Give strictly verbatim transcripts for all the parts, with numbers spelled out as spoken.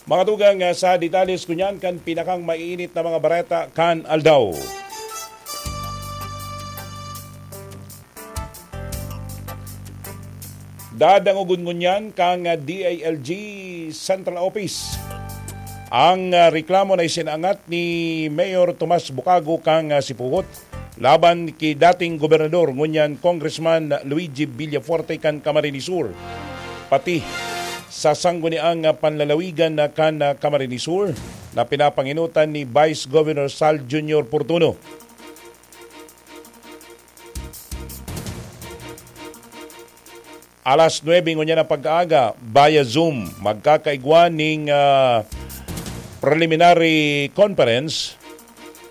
Mga tugang, ah, sa detalles ngunyan kan pinakang maiinit na mga bareta kan aldaw. Dadangogon ngunyan kan, ah, D I L G Central Office ang, ah, reklamo na isinangat ni Mayor Tomas Bucago kan, ah, Sipugot laban ki dating gobernador, ngunyan Congressman Luigi Villafuerte kan Camarines Sur, pati sa sangguniang panlalawigan na kan Camarines Sur na pinapanginutan ni Vice Governor Sal Junior Portuno. Alas nuebe ngunyan na pag-aaga, via Zoom, magkakaigwa ning, ah, preliminary conference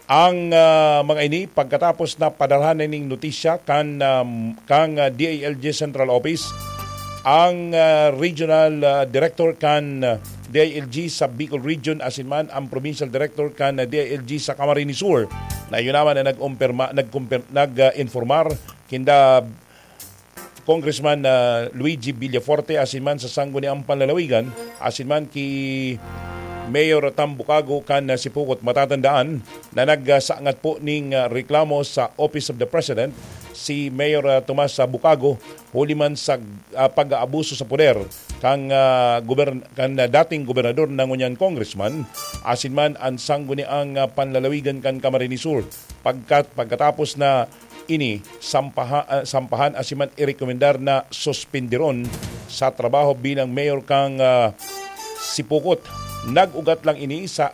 ang, ah, mga ini pagkatapos na padalhan na ning notisya kan, um, kan, ah, D I L G Central Office ang, ah, regional, ah, director kan, ah, D I L G sa Bicol Region asin man ang provincial director kan, ah, D I L G sa Camarines Sur na yun naman na nag-umpirma, nagkumpir-, nag, ah, informar kinda Congressman, ah, Luigi Villafuerte asin man sa sangguniang panlalawigan asin man ki Mayor Tambukago kan, ah, Sipukot. Matatandaan na nagsangat po ning, ah, reklamo sa Office of the President si Mayor, ah, Tomas, ah, Bukago huli man sa, ah, pag-aabuso sa poder kan, ah, gobern-, kan, ah, dating gobernador na ngunyan congressman asin man ang sangguniang, ah, panlalawigan kan Camarines Sur. Pagkat-, pagkatapos na ini sampaha-, ah, sampahan asin man irekomendar na suspenderon sa trabaho bilang mayor kan, ah, Sipukot. Nag-ugat lang ini sa